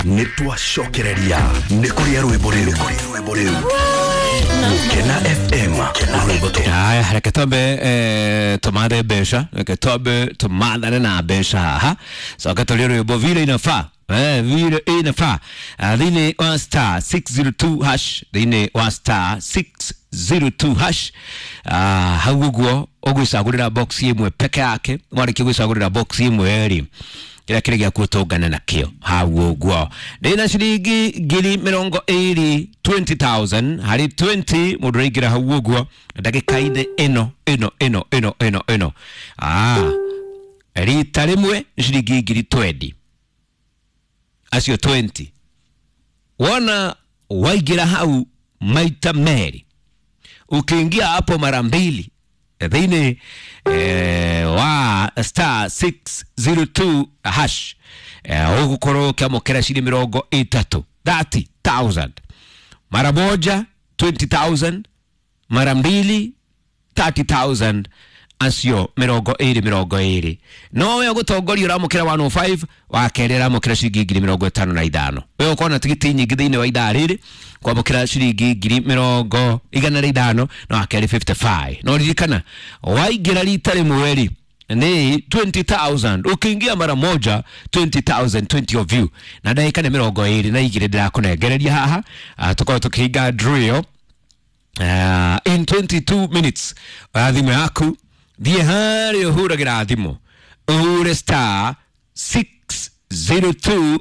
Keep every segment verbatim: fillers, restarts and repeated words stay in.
Nĩ twacokereria nĩ kũrĩa rwĩmbo rĩu rwĩmbo rĩu Gukena F M rwĩmbo tu. Haya, reke twambe eh, tumathe mbeca, reke twambe tumathane na mbeca haha, coke tũrie rwĩmbo vile inafaa. Eh, vile inafaa. Ah, thĩinĩ wa star six zero two hash, thĩinĩ wa star six zero two hash. Ah, hau ũguo ũgwĩcagũrĩra box ĩmwe peke yake, warĩkia gwĩcagũrĩra box ĩmwe rĩ, kĩrĩa kĩrĩ gĩaku ũtũngane nakĩo hau ũguo. Ndĩna ciringi ngiri mĩrongo ĩrĩ, twenty thousand harĩ twenty mũndũ ũraingĩra hau ũguo ndagĩka-inĩ ĩno ĩno ĩno ĩno ĩno ĩno. Ah, rita rĩmwe nĩ ciringi ngiri twenty, acio twenty wona waingĩra hau maita merĩ, ukiingia hapo mara mbili thĩinĩ eh, wa star six zero two hash, eh, ũgũkorwo ũkĩamũkĩra ciringi mĩrongo ĩtatũ, thirty thousand mara moja, twenty thousand mara mbili, thirty thousand, acio mĩrongo ĩrĩ mĩrongo ĩrĩ. No we ũgũtongoria ũramũkĩra one oh five, wa kerĩ ũramũkĩra ciringi ngiri mĩrongo ĩtano na ithano. We ũkorwo na tigiti nyingĩ thĩinĩ wa ithaa rĩrĩ kwamũkĩra ciringi ngiri mĩrongo igana rĩa ithano na wa kerĩ fifty five. No ririkana waingĩra rita rĩmwe rĩ ni twenty thousand, ukiingia mara moja twenty thousand, twenty of you, na ndagĩka nĩ mĩrongo ĩrĩ na igĩrĩ ndĩrakũnengereria haha. Ah, tũkorwo tũkĩhinga drill Uh, in twenty-two minutes. Oya thimũ yaku thiĩ harĩa ũhũragĩra thimũ, ũhure star six zero two,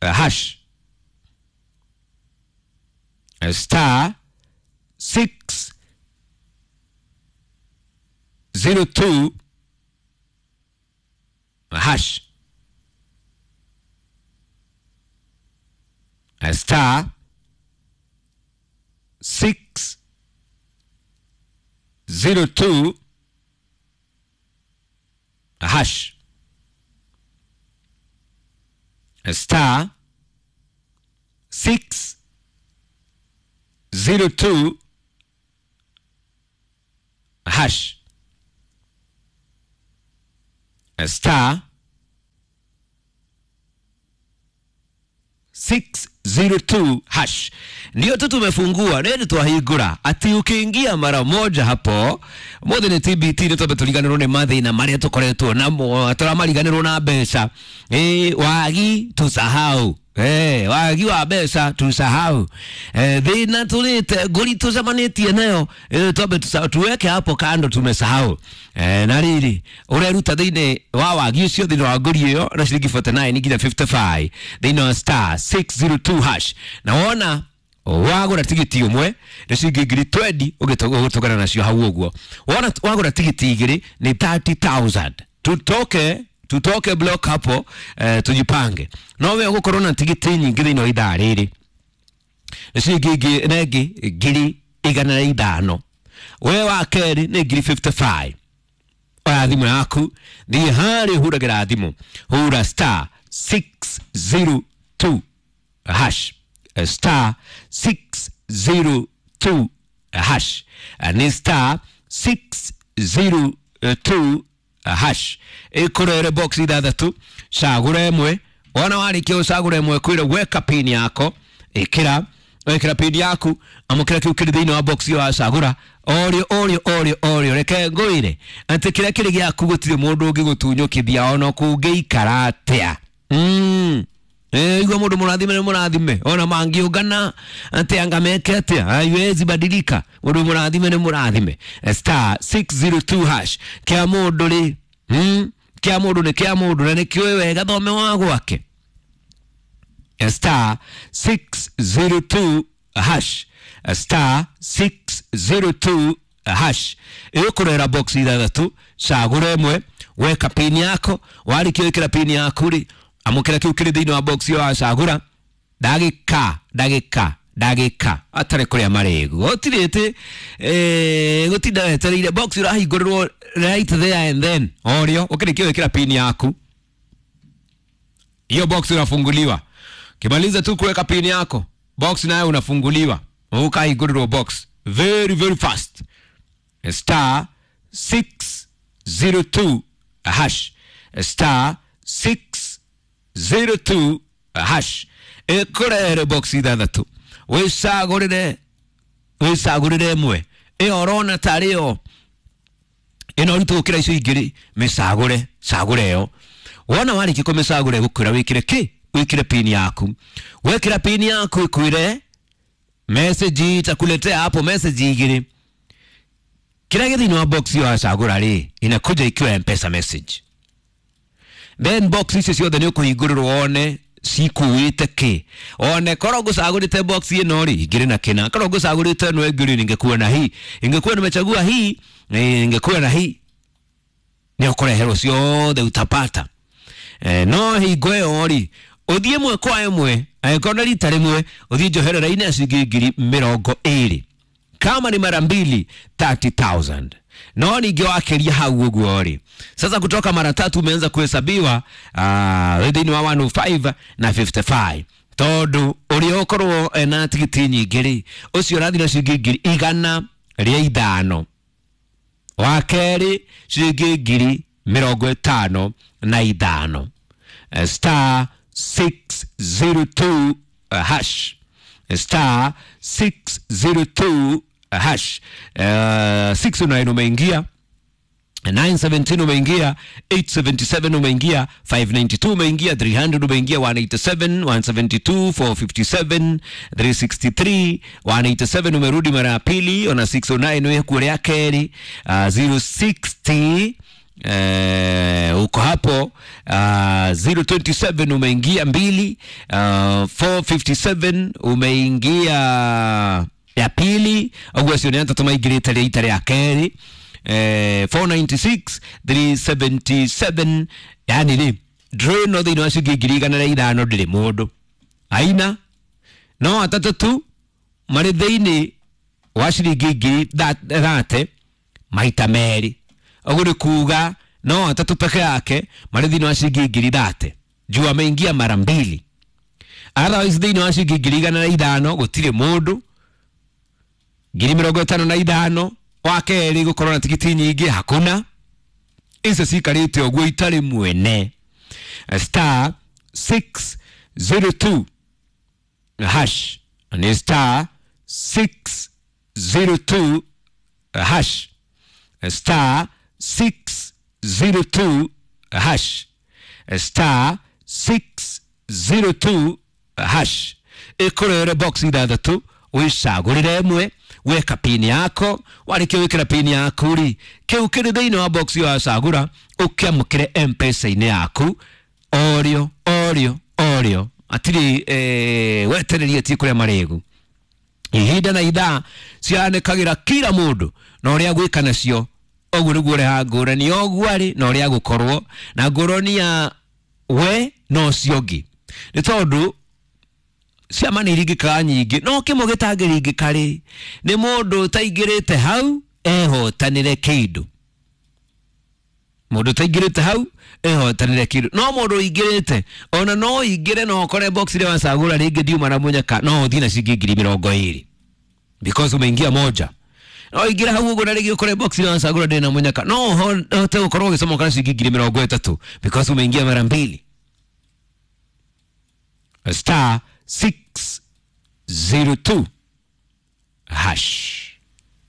uh, hash, uh, star six zero two hash, uh, star six zero two hash, star six zero two hash, star six zero two hash. Ndio tu tumefungua, ndio twahingura ati ukiingia mara moja hapo mothe ni T B T, ndio twambe turiganirwo ni mathina maria tukoretwo namo, turamariganirwo na mbeca. Eh, wagi tusahau. Eh, wagi wa mbeca tusahau. Eh, thina tulite nguri tucemanitie nayo, eh, twambe tusahau, tuweke hapo kando, tumesahau. Eh, na riri ureruta thiini wa wagi ucio thiini wa nguri iyo na ciringi forty nine nginya fifty five thiini wa star six zero two hash, na wona wagura tigiti umwe ni ciringi ngiri twenty ũgĩtũgana nacio hau ũguo. Wona wagura tigiti igĩrĩ ni thirty thousand. Tutoke tutoke block hapo, eh, tujipange. No we ũgũkorwo na tigiti nyingĩ thĩinĩ wa ithaa rĩrĩ nĩ ciringi ingĩ na ĩngĩ ngiri igana rĩa ithano. We wa kerĩ nĩ ngiri fifty five. Oya thimũ yaku thiĩ harĩa ũhũragĩra thimũ, hũra star six zero two hash, star six zero two hash, ni star six zero two hash. Ĩkũrere box ithathatũ, cagũra ĩmwe. Wona warĩkia ũcagũra ĩmwe, kwĩra weka pin yako, ĩkĩra wekĩra pin yaku, amũkĩra kĩu kĩrĩ thĩinĩ wa box ĩyo wacagũra. Orio orio orio orio, reke ngwĩre atĩ kĩrĩa kĩrĩ gĩaku gũtirĩ mũndũ ũngĩgũtunyũkithia ona kũngĩikara atĩa. Mm. Eh, igua mũndũ mũrathime nĩ mũrathime, ona mangĩũngana atĩ anga meke atĩa, haiwezi badilika. Mũndũ mũrathime nĩ mũrathime. Star six zero two hash. Kĩa mũndũ rĩ, mm, kĩa mũndũ nĩ kĩa mũndũ na nĩkĩũĩ wega thome wa gwake. Star six zero two hash, star six zero two hash. Ĩgũkũrehera box ithathatũ, cagũra ĩmwe, weka pin yako, warĩkia gwĩkĩra pin yaku rĩ, amũkĩra kĩu kĩrĩ thĩinĩ wa box ĩyo wacagũra. Ndagĩka, ndagĩka, ndagĩka atarĩ kũrĩa marĩgu, gũtirĩ atĩ, eh, gũtinda wetereire box ũrahingũrĩrwo right there and then. Orio ũkĩrĩkia gwĩkĩra pin yaku, hiyo box unafunguliwa. Kimaliza tu kuweka pin yako, box nayo unafunguliwa, ukahingũrĩrwo box very very fast. Star six zero two hash, star six zero two hash ĩkũrehere box ithathatũ wĩcagũrĩre wĩcagũrĩre ĩmwe ĩyo ũrona tarĩ yo ĩno ũritũ gũkĩra icio ingĩ mĩcagũre cagũre ĩyo wona warĩkia kũmĩcagũra ĩgũkwĩra wĩkĩre kĩ wĩkĩre pin yaku wekĩra pin yaku ĩkwĩre message itakuletea hapo message igĩrĩ kĩrĩa gĩ thĩinĩ wa box ĩyo wacagũra rĩ inakuja ikiwa M-Pesa message then box icio ciothe nĩ ũkũhingũrĩrwo wone cikuĩte kĩ one korwo ngũcagũrĩte box ĩno rĩ ingĩrĩ na kĩna korwo ngũcagũrĩte ĩno ĩngĩ rĩ ningekuwa na hii ingekuwa nimechagua hii ningekuwa na hii nĩ ũkũreherwo ciothe utapata eh, no hingo ĩyo rĩ ũthiĩ ĩmwe kwa ĩmwe angĩkorwo nĩ rita rĩmwe ũthiĩ njoherera-inĩ ya ciringi ngiri mĩrongo ĩrĩ kama ni mara mbili thirty thousand no ningĩ wakĩria hau ũguo rĩ sasa kutoka mara tatu umeanza kuhesabiwa uh, thĩinĩ wa one oh five na fifty-five tondũ ũrĩa ũkorwo ena tigiti nyingĩ rĩ ũcio ũrathiĩ na ciringi ngiri igana rĩa ithano wa kerĩ ciringi ngiri mĩrongo ĩtano na ithano star six zero two hash star six zero two hash uh, six oh nine umeingia nine seventeen umeingia eight seventy-seven umeingia five ninety-two umeingia three hundred umeingia one eighty-seven one seventy-two four fifty-seven three sixty-three one eighty-seven umerudi mara ya pili ona six oh nine wekuo rĩa kerĩ uh, zero sixty Eh, uko hapo uh, zero twenty-seven umeingia mbili uh, four fifty-seven umeingia ya pili ũguo acio nĩ atatũ maingĩrĩte rĩa ita rĩa kerĩ eh, four ninety-six three seventy-seven yani rĩ draw no thĩinĩ wa ciringi ngiri igana rĩa ithano ndĩrĩ mũndũ aina no atatũ tu marĩ thĩinĩ wa ciringi ngiri thate maita merĩ ũguo nĩ kuga no atatũ peke yake marĩ thĩinĩ wa ciringi ngiri thate juu ameingia mara mbili otherwise thĩinĩ wa ciringi ngiri igana rĩa ithano gũtirĩ mũndũ ngiri mĩrongo ĩtano na ithano wa kerĩ gũkorwo na tigiti nyingĩ hakuna icio cikarĩte ũguo itarĩ mwene star six zero two hash ni star six zero two hash star six zero two hash star six zero two hash ĩkũrere box ithathatũ wĩcagũrĩre ĩmwe weka pini yako warĩkia gwĩkĩra pini yaku rĩ kĩu kĩrĩ thĩinĩ wa box ĩyo wacagũra ũkĩamũkĩre M-Pesa-inĩ yaku orĩo orĩo orĩo atirĩ eh, wetererie ti kũrĩa marĩgu ihinda na ithaa cianĩkagĩra kila mũndũ na ũrĩa gwĩka nacio ũguo nĩguo ũrehaga ngũrani ũguo arĩ na ũrĩa gũkorwo na ngũrani ya we na ũcio ũngĩ nĩ tondũ ciama nĩ iringĩkaga nyingĩ no kĩmwe gĩtangĩringĩka rĩ nĩ mũndũ ũtaingĩrĩte hau ehotanĩre kĩndũ mũndũ ũtaingĩrĩte hau ehotanĩre kĩndũ no mũndũ ũingĩrĩte ona no ũingĩre no ũkore box ĩrĩa wacagũra rĩngĩ ndiuma na mũnyaka no ũthiĩ na ciringi ngiri mĩrongo ĩrĩ because umeingia moja no ũingĩre hau ũguo na rĩngĩ ũkore box ĩrĩa wacagũra ndĩrĩ na mũnyaka no ũhote gũkorwo ũgĩcomoka na ciringi ngiri mĩrongo ĩtatũ because umeingia mara mbili star six zero two hash.